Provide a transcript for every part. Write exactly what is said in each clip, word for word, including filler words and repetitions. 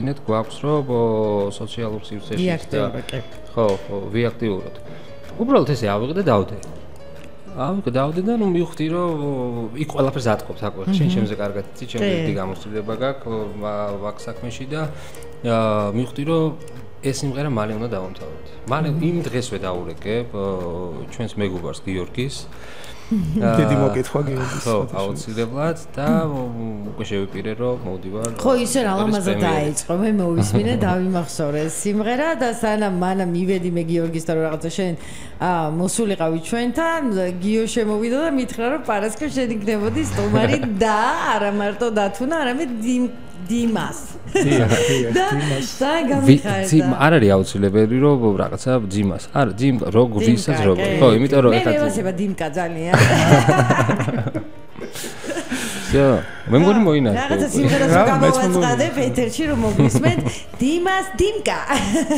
ნეთ გვაქვს რომ სოციალურ სივრცეში და ხო, ხო, ვიაქტიუროთ. უბრალოდ ესე ავიღე და დავდე. ავიღე დავდე და ნუ მივხვდი რომ იქ ყველაფერს ატყობთ აკوي. შენ ჩემზე კარგად იცი, ჩემზე დიდი გამოცდილება გაქვს ვაკ საქმეში და მივხვდი რომ ეს სიმღერა მალე უნდა დავამთავროთ. მალე იმ დღესვე დაურეკებ ჩვენს მეგობარს გიორგის. დიდი მოკითხვა გიორგის. ხო, აუცილებლად და უკვე შევიპირე რომ მოვდივარ. ხო, ისე რა ლამაზად დაიწყო. მე მოვისმინე, დავიმახსოვრე სიმღერა და სანამ მანამ მივედი მე გიორგისთან რომ რაღაცა შენ აა მოსულიყავი ჩვენთან, გიო შემოვიდა და მითხრა რომ პარასკევ შენ იქნებოდი სტუმარი და არა მარტო დათუნა, არამედ დიმას. დიახ, დიმას. და გამიხარდა. ძიმ არ არის აუცილებელი რომ რაღაცა ძიმას. არა, ძიმ როგ ვისაც როგ. ხო, იმიტომ რომ ეხლა მე ვასება დიმკა ძალიან. ზო, მე მგონი მოინახე. რაღაცა სიმღერას გამოვაწყადებ ეთერში რომ მოგვისმენთ დიმას დიმკა.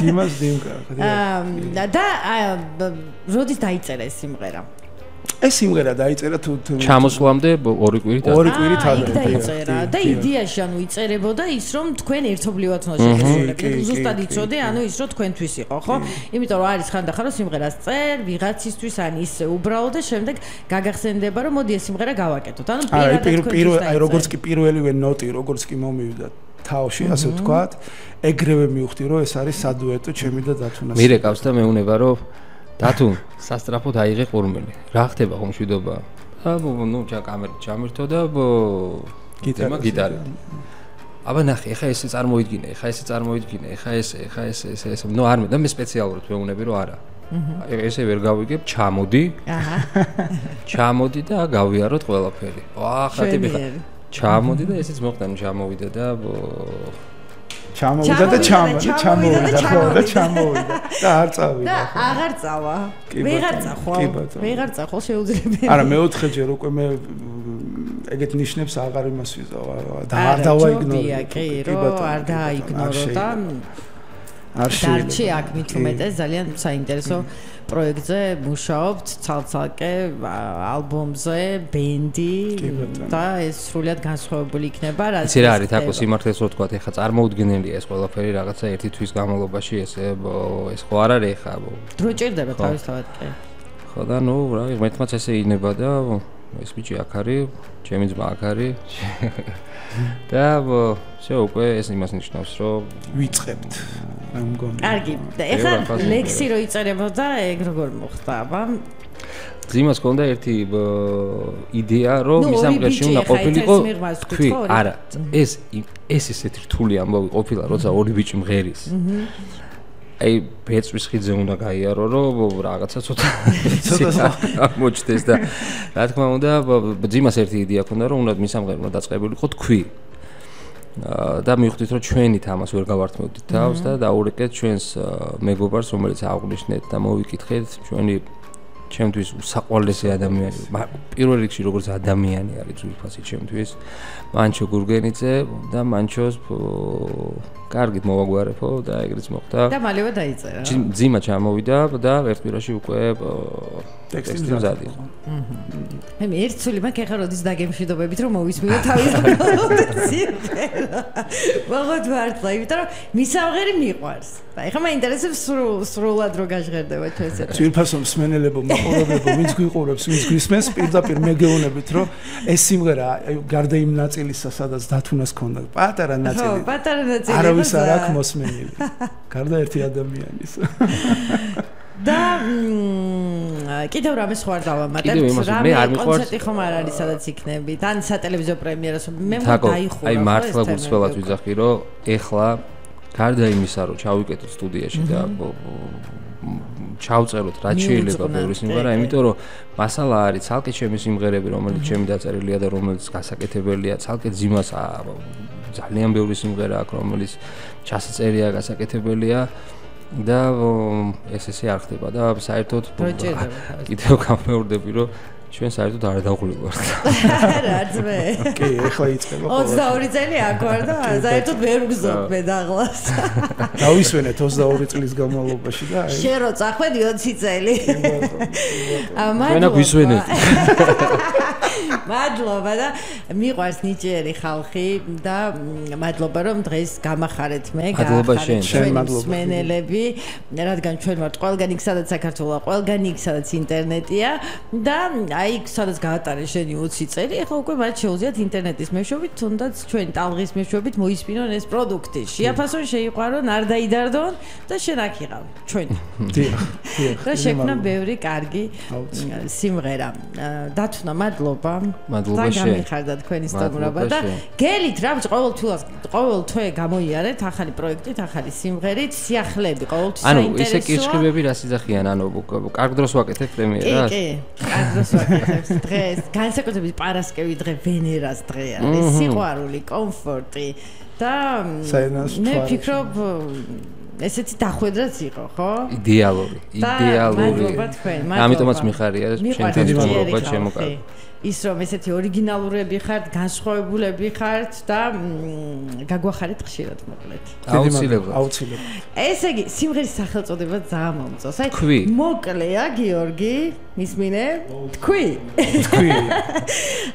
დიმას დიმკა. აა და როდის დაიწერა ეს სიმღერა? ეს სიმღერა დაიწერა თუ ჩამოსვლამდე ორი კვირით ადრე. ორი კვირით ადრე. დაიწერა და იდეაში ანუ იწერებოდა ის რომ თქვენ ერთობლივად უნდა შეგესრულებდეთ. ზუსტად იცოდე, ანუ ის რომ თქვენთვის იყო, ხო? იმიტომ რომ არის ხანდახან რომ სიმღერას წერ, ვიღაცისთვის ან ისე უბრალოდ და შემდეგ გაგახსენდება რომ მოდი ეს სიმღერა გავაკეთოთ. ანუ პირველ აი როგორც კი პირველივე ნოტი, როგორც კი მომივიდა თავში, ასე ვთქვათ, ეგრევე მივხვდი რომ ეს არის სადუეტო ჩემი და დათუნას. მირეკავს და მეუნება რომ დათუ სასტრაფოდ აიღე ყურმელი. რა ხდება ხომ მშვიდობა? აბა ნუ ჩა კამერით ჩამირთო და გიტარა გიტარი. აბა ნახე, ეხა ესე წარმოიდგინე, ეხა ესე წარმოიდგინე, ეხა ესე, ეხა ესე, ესე, ესე. ნუ არ მე და მე სპეციალურად მეუნები რომ არა. ესე ვერ გავიგებ, ჩამოდი. აჰა. ჩამოდი და გავიაროთ ყველაფერი. ახლა ტიპი ხა. ჩამოდი და ესეც მოხდა, ნუ ჩამოვიდა და ჩამოვიდა და ჩამოვიდა, ჩამოვიდა ხო და ჩამოვიდა და არ წავიდა. და აღარ წავა. ვეღარ წახვალ. ვეღარ წახვალ შეუძლებელი. არა, მეოთხეჯერ უკვე მე ეგეთ ნიშნებს აღარ იმას ვიზავ და არ დავაიგნორე. კი, რომ არ დააიგნორო და არ შეიძლება. დარჩი აქ მით უმეტეს ძალიან საინტერესო პროექტზე მუშაობთ, ცალ-ცალკე ალბომზე, ბენდი და ეს სრულად განსხვავებული იქნება, რაც ისე რა არის, თაკო სიმართლეს რო ვთქვა, ეხა წარმოუდგენელია ეს ყველაფერი რაღაცა ერთი თვის განმავლობაში ესე ეს ხო არ არის ეხა. დრო ჭირდება თავისთავად კი. ხო და ნუ რა, მეთმაც ესე ინება და ეს ბიჭი აქ არის, ჩემი ძმა აქ არის. და всё უკვე ეს იმას ნიშნავს რომ ვიწყებთ. მე მგონი. კარგი. და ეხლა ლექსი რო იწერებოდა, ეგ როგორ მოხდა, აბა? ძიმას ჰქონდა ერთი იდეა, რომ ის ამღერში უნდა ყოფილიყო. თქვი, არა, ეს ეს ესეთი რთული ამბავი ყოფილა, როცა ორი ბიჭი მღერის. აი, ბეწვის ხიძე უნდა გაიარო, რომ რაღაცა ცოტა ცოტა მოჩდეს და რა თქმა უნდა, ძიმას ერთი იდეა ჰქონდა, რომ უნდა მის ამღერში უნდა დაწყებულიყო თქვი. და მივხვდით რომ ჩვენით ამას ვერ გავართმევდით თავს და დაურეკეთ ჩვენს მეგობარს რომელიც აღვნიშნეთ და მოვიკითხეთ ჩვენი ჩემთვის უსაყვარლესი ადამიანი პირველ რიგში როგორც ადამიანი არის ძვირფასი ჩემთვის მანჩო გურგენიძე და მანჩოს კარგით მოვაგვარებო და ეგრეც მოხდა და მალევე დაიწერა ძიმა ჩამოვიდა და ერთ კვირაში უკვე ტექსტი მზად იყო მე ერთ სული მაქვს ახლა როდის დაგემშვიდობებით რომ მოვისმინო თავის სიმღერა ვაღოთ ვარტლა იმიტომ რომ მისამღერი მიყვარს და ეხლა მაინტერესებს სრულად რო გაჟღერდება ჩვენს ეს ძვირფასო მსმენელებო მაყურებლებო ვინც გვიყურებს ვინც გვისმენს პირდაპირ მეგეუნებით რომ ეს სიმღერა გარდა იმ ნაწილისა სადაც დათუნას ქონდა პატარა ნაწილი ხო პატარა ნაწილი არავის არ აქვს მოსმენილი გარდა ერთი ადამიანის და კიდევ რამე სხვა დავამატებთ რამე კონცერტი ხომ არ არის სადაც იქნებით ან სატელევიზიო პრემიერას მე მოდაიხურა აი მართლა გულწრფელად ვიძახი რომ ეხლა გარდა იმისა რომ ჩავიკეთოთ სტუდიაში და ჩავწეროთ რაც შეიძლება ბევრი სიმღერა იმიტომ რომ მასალა არის ცალკე ჩემი სიმღერები რომელიც ჩემი დაწერილია და რომელიც გასაკეთებელია ცალკე ძიმას ძალიან ბევრი სიმღერა აქვს რომელიც ჩასაწერია გასაკეთებელია და ეს ესე არ ხდება და საერთოდ კიდევ გამეორდები რომ ჩვენ საერთოდ არ დავღლივართ. რაც მე. კი, ეხლა იწყება. ოცდაორი წელი აქ ვარ და საერთოდ ვერ ვგზნობ მე დაღლას. დავისვენეთ ოცდაორი წლის განმავლობაში და აი. შენ რო წახვედი ოცი წელი. ამან. ვენა გვისვენეთ. მადლობა და მიყვარს ნიჭიერი ხალხი და მადლობა რომ დღეს გამახარეთ მე, გამახარეთ ჩვენ მსმენელები, რადგან ჩვენ ვართ ყველგან იქ სადაც საქართველოა, ყველგან იქ სადაც ინტერნეტია და აი სადაც გაატარეს შენი ოცი წელი, ახლა უკვე მათ შეუძლიათ ინტერნეტის მეშვეობით, თუნდაც ჩვენ ტალღის მეშვეობით მოისმინონ ეს პროდუქტი. შეაფასონ, შეიყვარონ, არ დაიდარდონ და შენ აქ იყავ ჩვენ. დიახ, დიახ. და შექმნა ბევრი კარგი სიმღერა. დათუნა, მადლობა. მადლობა შენ. გამიხარდა თქვენი სტუმრობა და გელით რა ბჭ ყოველთვის ყოველ თვე გამოიარეთ ახალი პროექტით, ახალი სიმღერით, სიახლეები ყოველთვის საინტერესოა. ანუ ესე კირჩხიბები რა სიძახიან, ანუ კარგ დროს ვაკეთებ პრემიერას? კი, კი, კარგ დროს ვაკეთებ დღეს. განსაკუთრებით პარასკევი დღე ვენერას დღე არის. სიყვარული, კომფორტი და მე ვფიქრობ ესეთი დახვედრაც იყო, ხო? იდეალური, იდეალური. მადლობა თქვენ, მადლობა. ამიტომაც მიხარია ჩემთან მოგობა შემოკავ. ის რომ ესეთი ორიგინალურები ხართ, განსხვავებულები ხართ და გაგვახარეთ ხშირად მოკლედ. აუცილებლად. აუცილებლად. ესე იგი, სიმღერის სახელწოდება ძალიან მომწონს. აი, მოკლეა, გიორგი, მისმინე? თქვი. თქვი.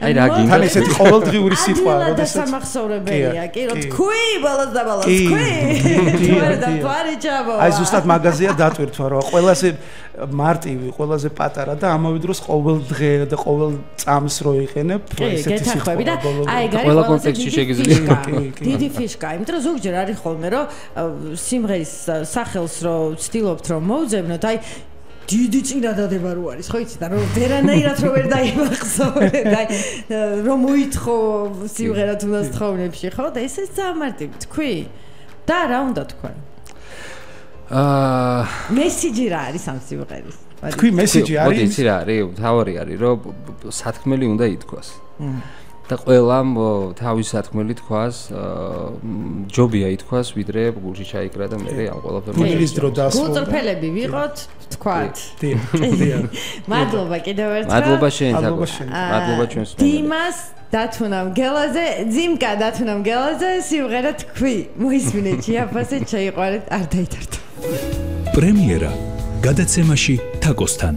აი რა გინდა? თან ესეთი ყოველდღიური სიტყვა, როდესაც სამახსოვრებელია, კი, რომ თქვი, ბოლოს და ბოლოს თქვი. და თვარი ჩაბო. აი ზუსტად მაგაზია დატვირთვა, რომ ყველაზე მარტივი, ყველაზე პატარა და ამავე დროს ყოველდღე და ყოველ წამს რო იყენებ ესეთი სიტყვა. აი, ყველა კონტექსტში შეგიძლია. დიდი ფიშკა, იმიტომ რომ ზოგჯერ არის ხოლმე, რომ სიმღერის სახელს რო ვცდილობთ რომ მოვძებნოთ, აი დიდი წინადადება რო არის, ხო იცი და რომ ვერანაირად რო ვერ დაიმახსოვრე და რომ მოითხო სიმღერა თუნდაც თხოვნებში, ხო და ესე ძალიან მარტივი თქვი. და რა უნდა თქვა? აა მესიჯი რა არის ამ სიმღერის? თქვი მესიჯი არის? მოდი იცი რა არის? თავარი არის, რომ სათქმელი უნდა ითქვას. და ყველამ თავის სათქმელი თქვას, ჯობია ითქვას, ვიდრე გულში ჩაიკრა და მე ამ ყველაფერს გულის დრო დასრულდა. გულწრფელები ვიყოთ, თქვათ. დიახ, დიახ. მადლობა კიდევ ერთხელ. მადლობა შენ, მადლობა ჩვენს სტუმრებს. დიმას დათუნამ გელაზე, ძიმკა დათუნამ გელაზე სიმღერა თქვი. მოისმინეთ, შეაფასეთ, შეიყვარეთ, არ დაითარდო. პრემიერა გადაცემაში თაკოსთან.